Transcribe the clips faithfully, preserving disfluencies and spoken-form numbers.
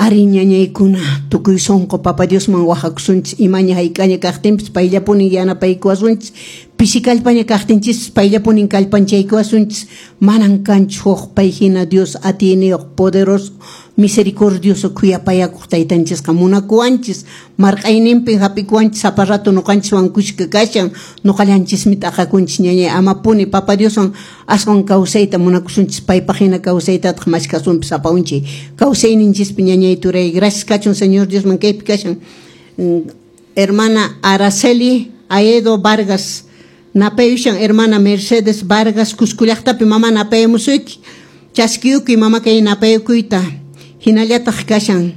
Ari ñañaykuna tukuy sunqu Papa Diosman wahakusunchis imaña hayk'aña kaqtinpis payllapunin yanapaykuwasunchis pisi kallpaña kaqtinchis payllapunin kallpanchaykuwasunchis manan kanchu huk pay hina Dios atiyniyuq poderoso misericordioso khuyapayakuq taytanchisqa munakuwanchis marq'ayninpi hap'ikuwanchis sapa rato ñuqanchiswan kushka kashan ñuqallanchismi t'aqakunchis ñañay amapuni Papa Dioswan aswan kawsayta munakusunchis paypaq hina kawsaytataq mashkasunpis sapa unchay kawsayninchispi ñañay turay gracias kachun Señor Diosman kaypi kashan hermana Araceli Aedo Vargas napayushan hermana Mercedes Vargas Cusco llaqtapi mama napayamusuyki chaskiyukuy mama kay napayukuyta hinallataq kashan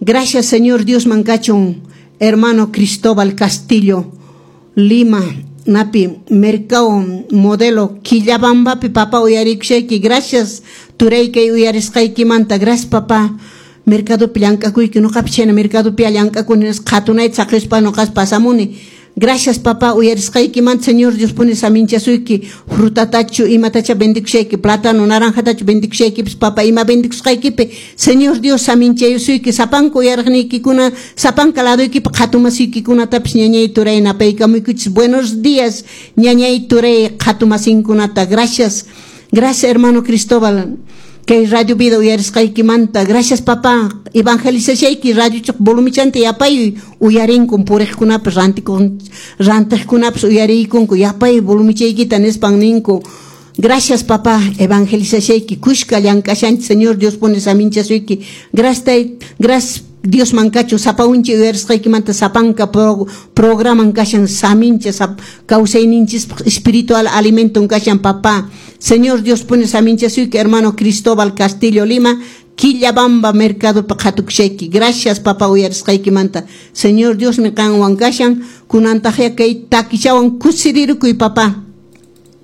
gracias Señor Diosman kachun hermano Cristóbal Castillo Lima napi mercado modelo Quillabambapi papá uyarikushayki gracias turay kay uyarisqaykimanta gracias papá mercadopi llank'akuyki ñuqapi chayna mercadopi llank'akuni qhatunayta saqispa ñuqas pasamuni gracias papá uyarisqaykimanta Señor Dios puni saminchasuyki frutatachu imatacha bendikushayki plátano naranjatachu bendikushaykipas papá ima bendikusqaykipi Señor Dios saminchayusuyki sapanka uyariqniykikuna sapanka ladoykipi qhatumasiykikunatas ñañay turay napaykamuykuchis buenos días ñañay turay qhatumasinkunata gracias gracias hermano Cristóbal kay Radio Vida uyarisqaykimanta gracias papá evangelizashayki radiochaq volumichanta yapay uyarinkun puriqkunapas rantikun rantiqkunapas uyariykunku yapay volumichaykita nispan ninku gracias papá evangelizashayki kushka llank'ashanchik Señor Dios pone saminchasuyki gracias gracias Diosman kachun sapa unchi uyarisqaykimanta sapanka pro, programan kashan samincha sap, kawsayninchispaq espiritual alimenton kashan papá Señor Dios pone saminchasuyki hermano Cristóbal Castillo Lima Quillabamba mercado qhatukushayki gracias papá uyarisqaykimanta Señor Diosmi qanwan kashan kunantaqya kay takichawan kusirirukuy papá.